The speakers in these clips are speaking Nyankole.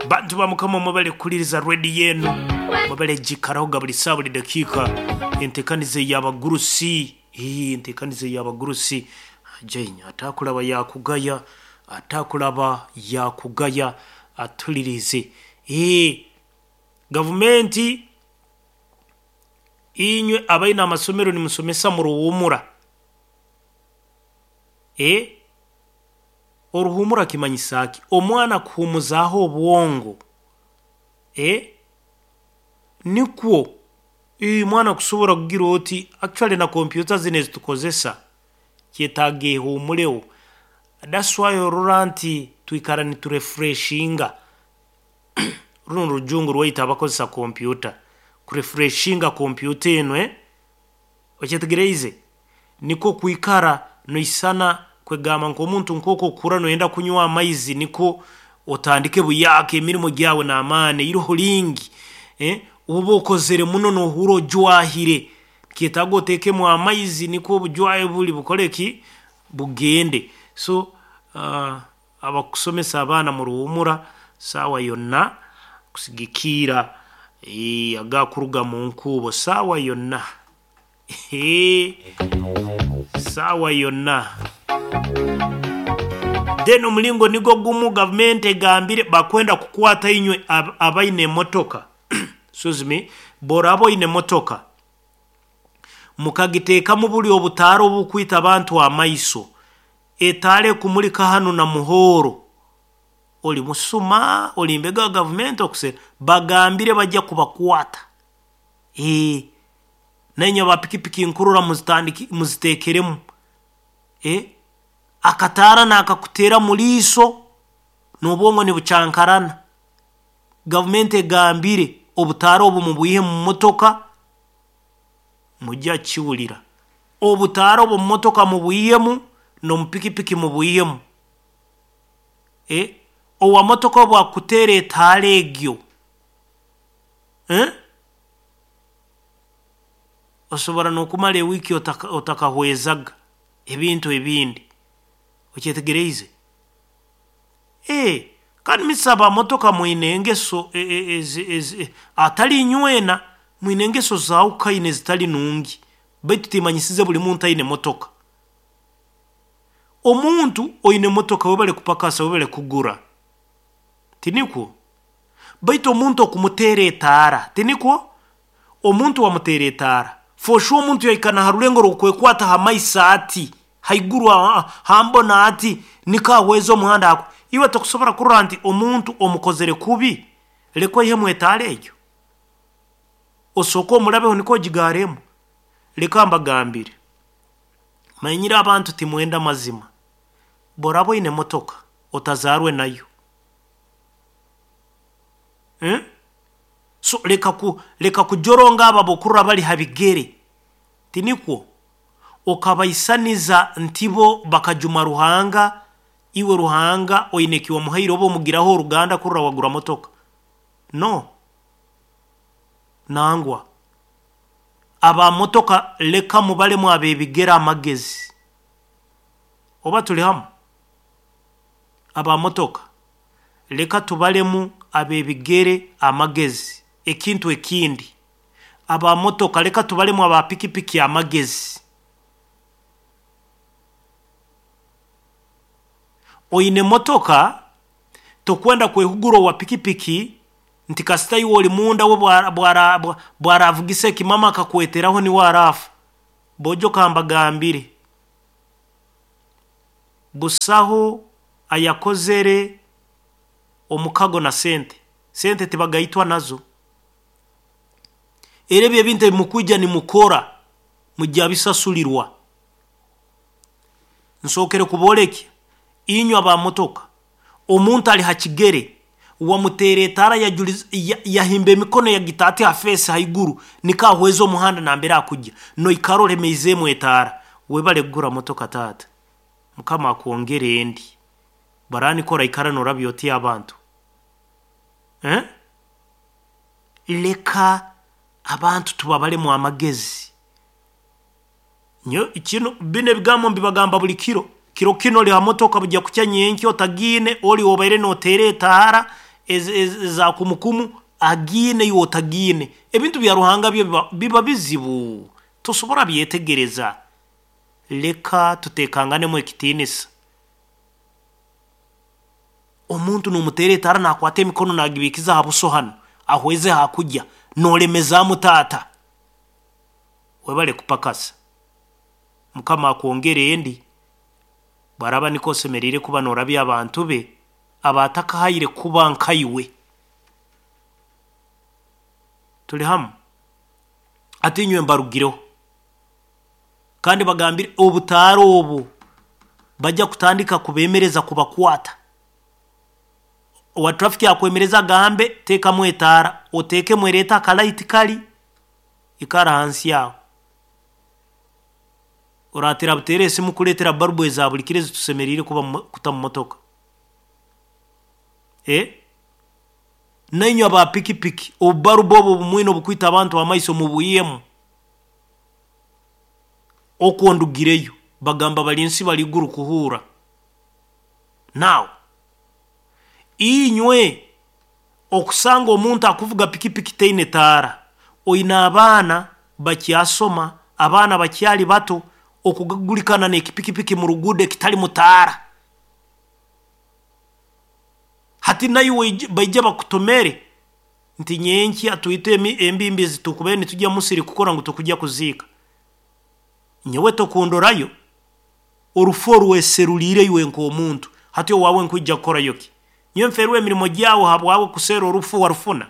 Bantu ba Mukama mwebale kuhuliriza rediyo enu, mwebale gikarahoga buri saaha buri dakiika. Enteekaniza ey'abagurusi, ii enteekaniza ey'abagurusi. Jane atakuraba yaakugaya, atakuraba yaakugaya atuhuririize. Ii gavumenti inywe abaine amasomero nimusomesa muruhuumura. Ee oruhuumura kimanyisa ki? Omwana kuhuumuzaaho obwongo. Ee nikwo ii omwana kusobora kugira oti actually na kompyuta zinu ezitukozesa kyetaaga ehuumureho. That's why orora nti twikara niturefreshinga runu orujungu rwaitu abakozesa kompyuta, kurefreshinga kompyuta enu ee okyetegereize? Nikwo kwikara noisana kwegamba nk'omuntu nk'oku okuhurra noyenda kunywa amaizi nikwo otandike buyaaka emirimo gyawe n'amaani eiroho ringi ee oba okozere muno noohurra ojwahire, nikyetaaga oteekemu amaizi nikwo obujwahe buri bukore ki? Bugende. So abakusomesa abaana muruhuumura saawa yonna kusigikiira agakuruga munkuubo saawa yonna saawa yonna. Then omulingo nigwo gumu gavumenti egambire bakwenda kukwata inywe abaine emotoka excuse me, bworaba oine emotoka mukagiteekamu buri obutaara obukwita abantu amaiso, etaara ekumurika hanu na muhooro, ori musuma, ori mbega wa gavumenti okusera, bagambire bajya kubakwata. Ee nainywe aba pikipiki nkurora muzitandiki muziteekeremu. Ee akataara naakakuteera mu riiso n'obwongo nibucankarana. Gavumenti egambire obutaara obu mubwihe mu motoka mujya kukihurira. Obutaara obu omu motoka mubwihemu n'omu pikipiki mubwihemu. Ee owa motoka obu akuteera etaara egyo, ee osobora n'okumara ewiiki otaka otakahwezaga ebintu ebindi. Okyetegereize? Ee kandi misa aba motoka mwine engeso ezi atari inywena, mwine engeso zahukaine ezitari nungi baitu timanyisize buri muntu aine motoka. Omuntu oine motoka webale kupakasa webale kugura, tinikwo? Baitu omuntu okumuteera etaara, tinikwo? Omuntu wamuteera etaara, for sure omuntu yahika na ha rurengo rw'okwekwata ha maiso ati, haiguru ha mbona ati, niko ahweza omuhanda aku. Iwe tokusobora kurora nti omuntu omukozere kubi, leka oihemu etaara egyo? Osooke omurabeho nikwo ogigaaremu? Leka mbagambire, manyire abantu timwenda amazima. Bworaba oine motoka, otazaarwe nayo. Eh? So leka ku leka kujoronga abo abokurora bari ha bigere, tinikwo? Okabaisaniza nti bo bakajuma Ruhanga, iwe Ruhanga oine eki wamuhaire oba omugiraho oruganda kurora wagura motoka. No. Nangwa. Aba motoka leka mubaremu ab'ebigere amagezi. Oba turi hamu? Aba motoka leka tubaremu ab'ebigere amagezi. Ekintu ekindi, aba motoka leka tubaremu aba pikipiki amagezi. Oine motoka, tokwenda kwehugura owa pikipiki nti kasita iwe ori munda we bwaravugisa ekimama akakweteraho niwe araafa. Bojo kambagambire, busaho ayakozere omukago na sente. Sente tibagaitwa nazo. Era ebyo ebintu ebi mukwija nimukora mujya bisasurirwa. Nsookere kuboolekya inywe aba motoka, omuntu ari ha kigere wamuteera etaara yajuriza yahimba emikono yagita ati ha feesi haiguru niko ahweze omuhanda nambere akujya, noikara olemeizeemu etaara. Webale kugura motoka taata. Mukama akwongere endi. Baraba nikwo oraikara norabya oti abantu. Eh? Leka abantu tubabaremu amagezi. Nyowe kinu binu ebigambo mbibagamba buri kiro. Kiro kinu ori ha motoka bujya kukya nyenkya otagiine, ori obaire nooteera etaara, eza kumukumu agiine iwe otagiine. Ebintu bya Ruhanga byo biba bizibu, tosobora byetegereza. Leka tuteekanganemu ekitiinisa. Omuntu nomuteera etaara nakwata emikono nagibiikiza aha buso hanu ahweze hakugya nolemezaamu taata. Webale kupakasa. Mukama akwongere endi. Bwaraaba nikwo osemeriire kuba norabya abantu be abaatakahaire kuba nkaiwe. Tuli hamu? Hati inywe mbarugireho. Kandi bagambire obutaara obu bajja kutandika kubeemereza kubakwata. Owa traffic akwemereze agambe teekamu etaara, oteekemu ereete akalaiti kari, ikara ahansi aho. Orateera buteera esimu kureetera barubu eza buri kiro ezi tusemeriire kuba kuta mu motoka. Eh? Nainywe aba pikipiki, obubarubu obu obumwine obukwita abantu amaiso mubwihemu. Okwo ndugireyo, bagamba bari nsi bari iguru kuhuura. Now, inywe okusanga omuntu akuvuga pikipiki teine taara, oine abaana bakyasoma, abaana bakyari bato, okugagurikana n'ekipikipiki mu ruguudo ekitarimu taara. Hati naiwe baije bakutomere nti nyenkya twite embimbi ezi tukubaire nitujya musiri kukora ngu tukujya kuziika. Nyowe tokundorayo, orufu orweseruriire iwe nk'omuntu, hati owaawe nkwija kukorayo ki? Nyowe nferwe emirimo gyawe habwawe kuseera orufu warufuna?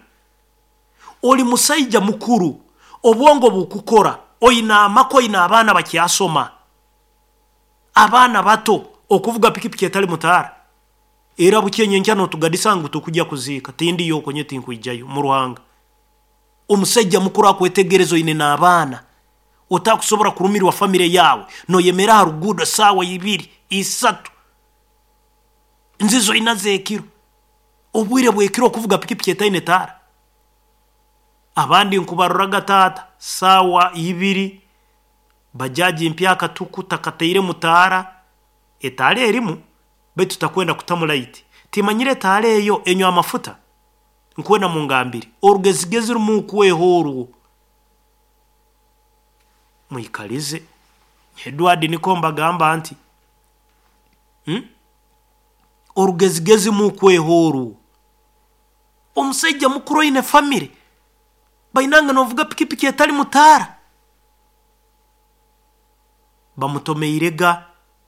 Oli musaija mukuru, obwongo bukukora, oine amaka, oine abaana bakyasoma, abaana bato, okuvuga pikipiki etarimu taara? Era bukye nyenkya notugadisa ngu tukujya kuziika, tindiyo okwo nyowe tinkwijayo, mu Ruhanga. Omusaija mukuru akwetegereza oine n'abaana, otakusobora kurumirwa famire yaawe, noyemera aha ruguudo saawa ibiri, isatu, nzizo ina z'ekiro, obwire bw'ekiro okuvuga pikipiki etaine taara? Abandi nkubaroraga taata, saawa ibiri, bajaji mpyaka tuku takatairemu taara, etaara erimu baitu takwenda kutamu light. Timanyire etaara eyo enywa amafuta? Nkwenda mungambire. Orugezigezi rumuukweho orwo. Mwikalize. Edward nikwo mbagamba nti, hmm? Orugezigezi muukweho orwo. Omusaija mukuru oine famire, bainange novuga pikipiki etarimu taara? Bamutomeirega,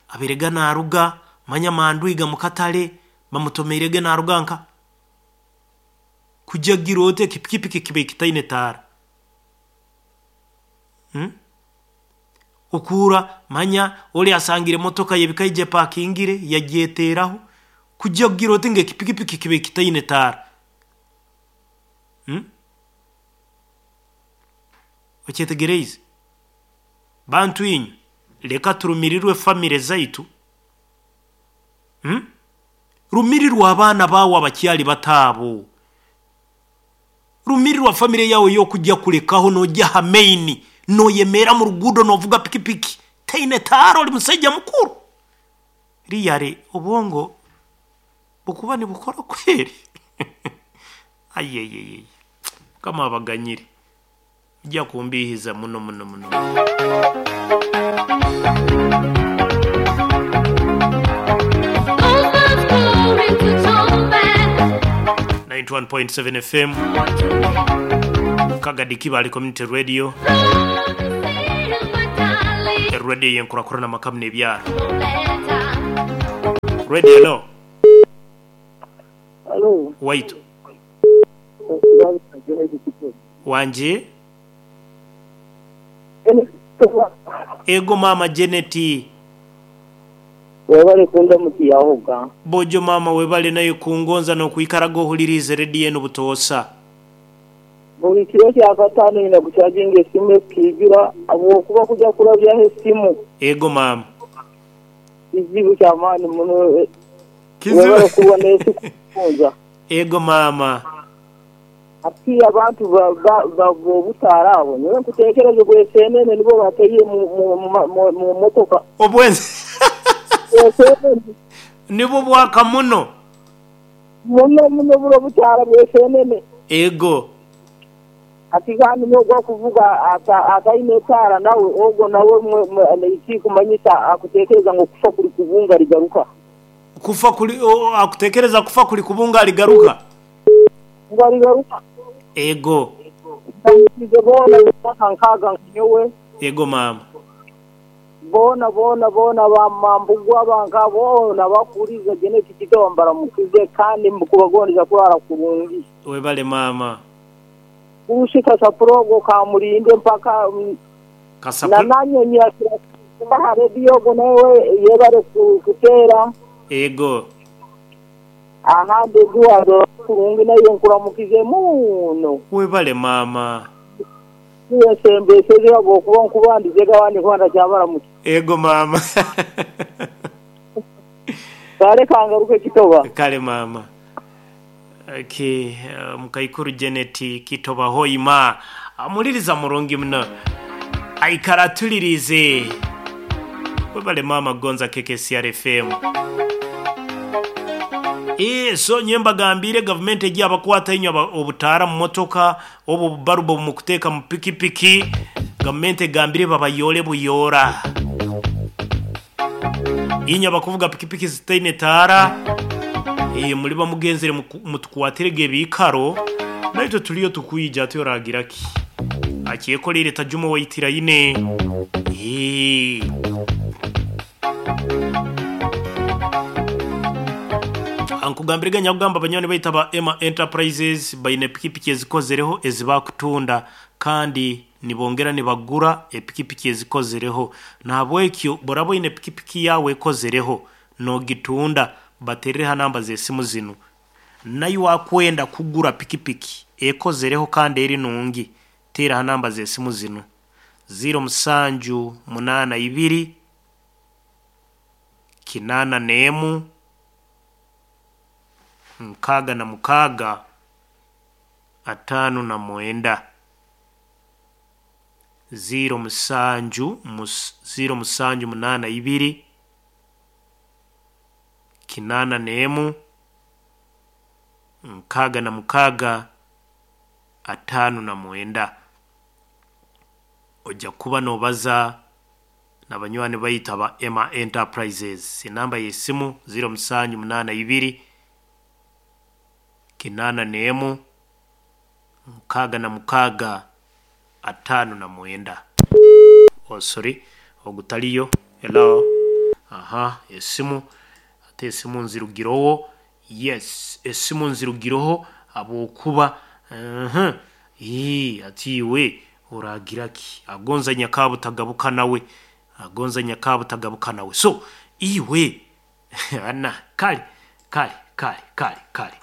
abairega naruga, manya mandwiga mukatare, bamutomeirege naruga nka kugya gira oti ekipikipiki kibaire kitaine taara. Hmm? Okuura manya ori asangire emotoka y'ebikaija epakingire yagyeteeraho, kugya kugira oti ngu ekipikipiki kibaire kitaine taara. Hmm? Okyetegereize? Bantu inywe, leka turumirirwe famire zaitu. Hmm? Rumirirwa abaana baawe abakyari bato abo. Rumirirwa famire yaawe ey'okugya kulekaho noogya aha main, nooyemeera mu ruguudo noovuga pikipiki teine taara ori musaija mukuru. Really obwongo bukuba nibukora kweri? Ayeyeyeye Mukama abaganyire. Mugya kumbiihiza muno muno muno. 91.7 FM Kagadi Kibale Community Radio Radio y'enkurakurana amaka muno ebyaro Radio hello Halo. Waitu Wangi? Ego maama Jeneti. Webale kundamukiahoga. Bojo maama webale naye kungonza nokwikaraga ohuliriize rediyo enu butoosa. Buli kiro kyakataano nyina kucajinga esimu ekaijura habwokuba kuja kurabyaho esimu. Ego maama. Kizibu kyamaani muno. Webale kuba n'ensi kugonza. Ego maama. Hati abantu b'obutaara abo, nyowe nkuteekereza obweseenene nibwo bataire mu motoka. Obweseenene nibwo bwaka muno. Muno muno buro bukyara bw'eseenene. Ego. Ati kandi n'ogwo akuvuga ataine etaara nawe ogwo nawe ekikumanyisa akutekereza ngu okufa kuri kubunga arigaruka. Kufa kuri akutekereza kufa kuri kubunga arigaruka. Ngu arigaruka. Ego. Ndamukize boona ab'emyaka nkaaga nka nyowe. Ego maama. Boona boona boona ba Mambugwa ba nka boona abakuhuriiriza Janet Kitawa mbaramukize kandi mbukubagondeza kuraara kurungi. Webale maama. Kurushi kasapura ogwo kamurinde mpaka na Kasapura. Nanyonyi akira kuba aha rediyo ogwo nawe yebare kuteera. Ego. Ahandi Eduardo kurungi naiwe nkuramukize muuno. Webale maama. Niiwe nsembeseze ahabw'okuba nkubandize abandi nkuba ntakyabaramutsya. Ego maama. Kare kangaruke Kitoba. Kale maama. Okay, mukaikuru Janet Kitoba Hoima amuliriza murungi muno. Aikara atuliriize. Webale maama kugonza KKCR FM. Eeh so nyowe mbagambiire gavumenti egi abakwata inywe obutaara mu motoka oba obubarubu obu mukuteeka mu pikipiki, gavumenti egambire babayoore buyoora. Inywe abakuvuga pikipiki zitaine taara, eeh muriba mugenzire mutukwatire ge ebiikaro, naitwe turiyo tukwija hati oragira ki? Akyekoreire tajuma owaitira ine. Eeh. Ankugambire ge nyakugamba banywani baitu aba Emma Enterprises baine pikipiki ezikozereho ezi bakutunda kandi nibongera nibagura epikipiki ezikozereho. Nahabwekyo bworaba oine pikipiki yaawe ekozereho nogitunda baterere ha namba z'esimu zinu. Naiwe akwenda kugura pikipiki ekozereho kandi eri nungi teera ha namba z'esimu zinu, ziiro musanju munaana ibiri, kinaana n'emu, 66, 59. Ziiro musanju ziiro musanju munaana ibiri, 81, 66, 59. Oja kuba noobaza na banywani baitu aba Emma Enterprises. Enamba y'esimu ziiro musanju munaana ibiri, 81, 66, 59. Oh sorry, ogu tariyo. Hello? Aha, esimu hati esimu nzirugireho. Yes, esimu nzirugireho habwokuba uhmm hati iwe oragira ki? Agonza nyakabutagabuka nawe, agonza nyakabutagabuka nawe. So iwe ana kare kare kare kare kare.